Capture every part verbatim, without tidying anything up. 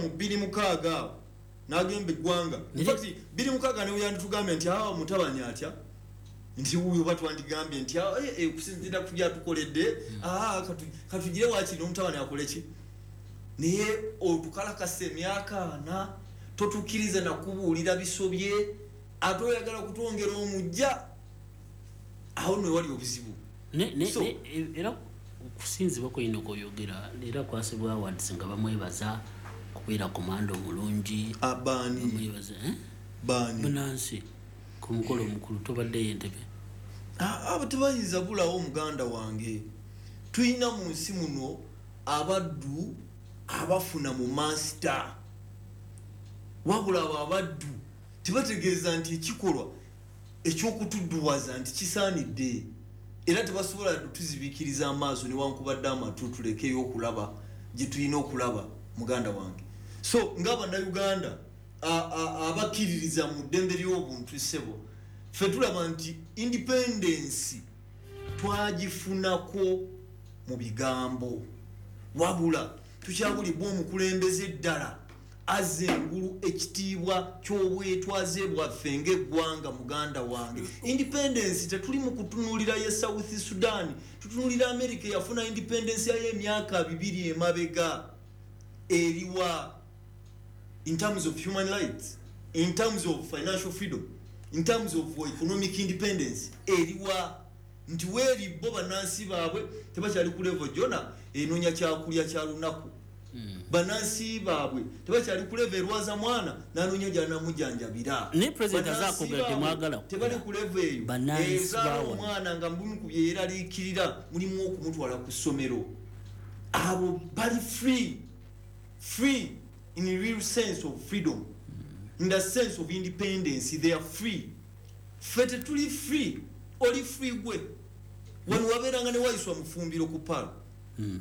mu bbiri mukaaga awo n'agamba eggwanga. In fact, bbiri mukaaga ne yanditugambye nti awa mutabani atya, nti wuuyo batwandigambye nti ah, eh, eh, okusinziira ku byatukoledde, ah, katu- katugire wakiri n'omutabani akole ki. Naye otukalakasa emyaka ana, totukkiriza nakubuulira bisobye, ate oyagala kutwongera omujja. Awo nno wali obuzibu. Ne- ne- So- ne- era okusinzibwa kweyina okweyogera era kwasibwa awards nga bamwebaza kubeera komanda omulungi. Ah, baani? Bamwebaza, eh? Baani? Bunansi ku mukolo omukulu tobaddeyo Entebe. Ah, abo tebayinza bulawo, muganda wange. Tulina mu nsi muno abaddu abafuna mu master, wabula abo abaddu tebategeeza nti ekikolwa ekyokutudduwaza nti kisaanidde, era tebasobola tuzibiikiriza amaaso newankubadde amatu tulekeyo okulaba gye tulina okulaba, muganda wange. So ng'abannayuganda a- a- abakkiririza mu ddembe ly'obuntu, ssebo, ffe tulaba nti independence twagifunako mu bigambo, wabula tukyabulibwa omukulembeze ddala azza engulu ekitiibwa ky'obwetwaze bwaffe ng'eggwanga. Muganda wange, independence tetuli mu kutunuulira ye South Sudan, tutunuulira America eyafuna independence yayo emyaka bibiri emabega. Eriwa in terms of human rights, in terms of financial freedom, in terms of economic independence? Eriwa nti weeri bo bannansi baabwe tebakyali ku level gyona enoonya kyakulya kya lunaku. Bannansi baabwe tebakyali ku level erwaza mwana nanoonya gyanamujanjabira. Naye President Bannansi azaakogera baabwe temwagala tebali ku level eyo Bannansi ezaala baawona. omwana nga mubimu ku byeyeraliikirira mulimu okumutwala ku ssomero. Abo bali free, free in the real sense of freedom, in the sense of independence, they are free. Ffe tetuli free. Oli free gwe? Wano wabeeranga ne wayiswa mufumbiro ku palo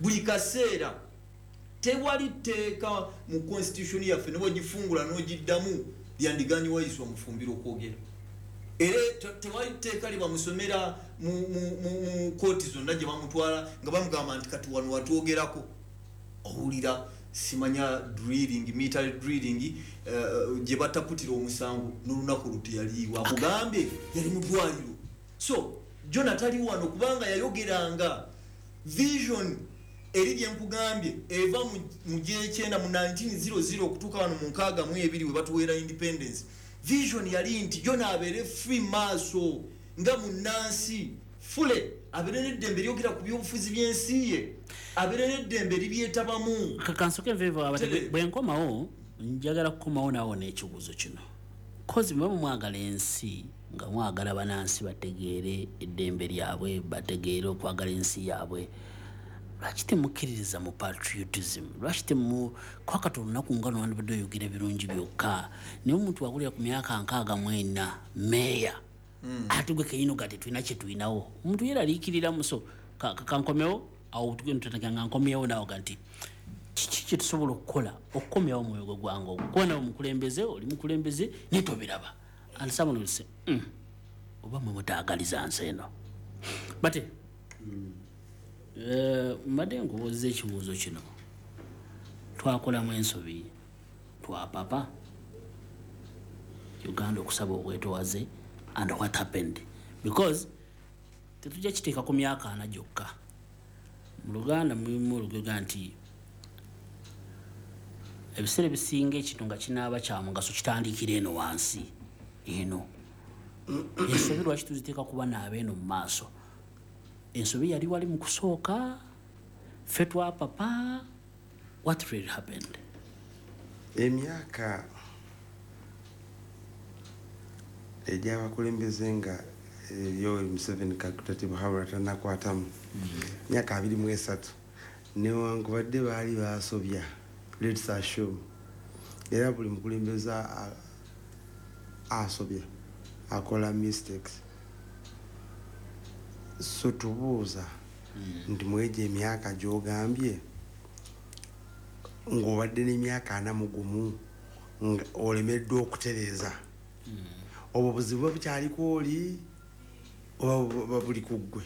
buli kaseera. Tewali tteeka mu constitution yaffe ne bwegifungula n'ogiddamu lyandiganye wayiswa mufumbiro okwogera, era te- tewali tteeka lyebamusomera mu, mu, mu, mu kooti zonna gye bamutwala nga bamugamba nti kati wano watwogerako. Owulira simanya drilling, military drilling, uh, gye bataputira omusango n'olunaku olwo teyaliiwo, akugambye yali mu ddwaliro. So Jona tali wano kubanga yayogeranga vision eri gye nkugambye eva mu- mu gyekyenda mu nineteen hundred okutuuka wano mu nkaaga mu ebiri we batuweera independence. Vision yali nti Jona abeere free maaso nga munnansi fule, abeere n'eddembe eryogera ku byobufuzi by'ensi ye, abeere n'eddembe eribyetabamu. Kansoke nvevo abate. Tere. Bwe nkomawo njagala kukomawo naawo n'ekibuuzo kino, kozi muba mwagala ensi, nga mwagala banansi bategeere eddembe lyabwe, bategeere okwagala ensi yaabwe, lwaki temukkiririza mu patriotism? Lwaki temu kwakati olunaku nga lwandibadde oyogera ebirungi byokka, naye omuntu wakulira ku myaka nkaaga mu ena meeya, ate gwe keyino ga tetulina kyetulinawo, omuntu yeraliikiriramu. So ka- ka- kankomewo awo, tutandika nga nkomyewo naawo ga nti kiki kyetusobola okukola okukomyawo omwoyo gwe gwanga ogwo, kuba nawe mukulembeze, oli mukulembeze naye tobiraba, and someone will say, mm, oba mwe mutaagaliza nsi eno." Bate eh, mbadde nkubuuza ekibuuzo kino: twakolamu ensobi, twapapa Uganda okusaba obwetowaze, and what happened? Because tetujja kiteeka ku myaka ana gyokka. Mu Luganda mulimu olugega nti ebiseera ebisinga ekintu nga kinaaba kya mugaso kitandikira eno wansi. Eno ensobi lwaki tuziteeka kuba naaba eno mu maaso? Ensobi yali wali mu kusooka, ffe twapapa. What really happened? Emyaka egy'abakulembeze nga Yoweri Museveni Kaguta Tibuhaburwa tanakwatamu myaka abiri mu esatu, newankubadde baali basobya, let's assume, era buli mukulembeze a- asobya, akola mistakes. So tubuuza nti mwegyo emyaka gyogambye ng'obadde n'emyaka ana mu gumu nga olemeddwa okutereeza, obwo buzibu buba bukyaliko oli oba buba buli ku ggwe?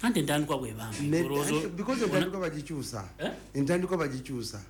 Anti entandikwa bwebambi. Ne- because entandikwa bagikyusa. Eh? Entandikwa bagikyusa.